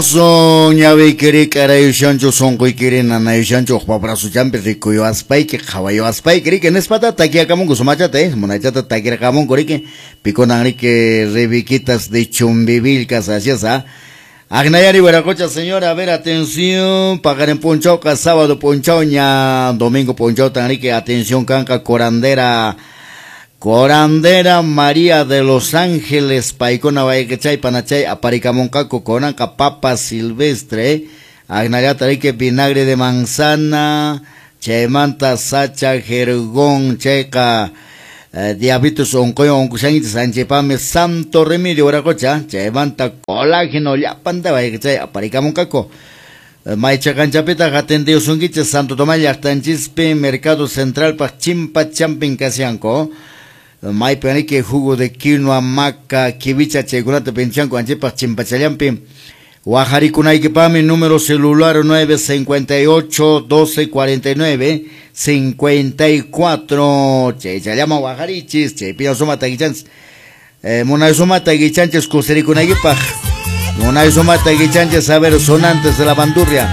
Ñawiykiri k'arayushanchu, sunquykiri nanayushanchu, uqpa brazuchampi rikuyuwaspayki, qhawayuwaspayki, riki, nispata takiakamunku sumachata, munaychata takirqamunku, riki, pikunan, riki, Rebequitas de Chumbivilcas, así es, ¿ah? Agnayari Huiracocha, señora, a ver, atención, paqarin p'unchawqa, sábado p'unchawña, domingo p'unchawtan, riki, atención kanqa, curandera, Curandera María de los Ángeles, paykuna wayqichay panachay aparikamunqaku kunanqa papa silvestre, agnallata, riki, vinagre de manzana, chaymanta sacha jergón, chayqa diabetes unquywan unqushankichis, anchaypaqmi santo remedio, wiraqucha, chaymanta colágeno, llapanta wayqichay aparikamunqaku. Maycha kanchapitaq atendiyusunkichis Santo Tomás llaqtanchispi, Mercado Centralpaq chimpa champin kashanku. Maypi, riki, jugo de quinoa, maca, kiwicha, chaykunata pinchanku anchaypaq chimpachallampi. Waqharikunaykipaqmi número celular 958 12 49 54. Chaychallama waqharichis, chaypiña suma takichanchis. Munay suma takichanchis kusirikunaykipaq. Munay suma takichanchis, a ver, sonantes de la bandurria.